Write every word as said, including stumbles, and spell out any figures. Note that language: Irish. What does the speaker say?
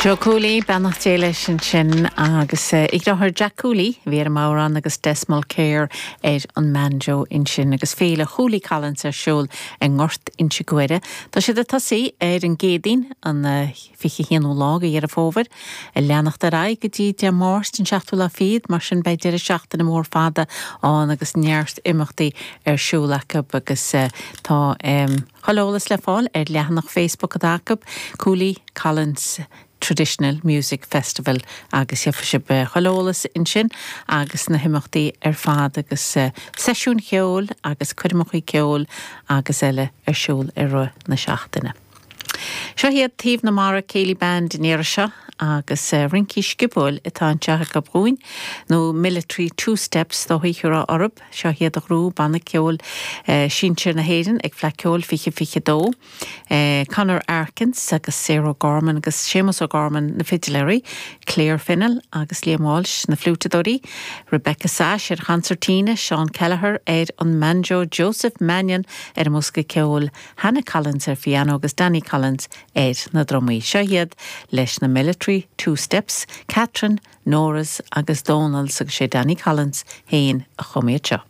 Joe Cooley beannacht Dé leis ansin agus a dheartháir Jack Cooley bhí ar an mbodhrán agus Des Mulcair ar an mbanjo ansin agus féile Cooley Collins ar siúl i nGort Inse Guaire. Tá siad ag tosú ar an gCéadaoin an fiche haonú lá de Dheireadh Fómhair ag leanacht ar aghaidh go dtí Dé Máirt an seachtú lá fichead mar sin beidh deireadh seachtaine mór fada ann agus neart imeachtaí ar siúl acu agus tá um, chuile eolas le fáil ar leathanach Facebook atá acu Cooley Collins Traditional Music Festival agus gheobhaidh sibh chuile eolas ansin agus na himeachtaí ar fad agus uh, seisiún ceoil agus coirmeacha ceoil agus eile ar siúl i rith na seachtaine. Seo hiad Taobh na Mara Céilí Band in éire seo agus uh, rince sciobóil atá anseo acu dúinn nó Military Two Steps dó thuidirá orb seo hiad a ghrú banna ceoil uh, sinsir na hÉireann ag Fleadh Cheoil fiche fiche dó. Uh, Conor Arkins agus Sarah Gorman agus Seamus O'Gorman na fidiléirí, Claire Finnell agus Liam Walsh na fliútadóirí, Rebecca Sash ar concertina, Sean Kelleher ar an mbanjo, Joseph Mannion ar an mbosca ceoil, Hannah Collins ar piano agus Danny Collins ar na drumaí. Seo hiad leis na Military Two Steps, Catherine, Norris agus Donalds agus sé Danny Collins féin a chum iad seo.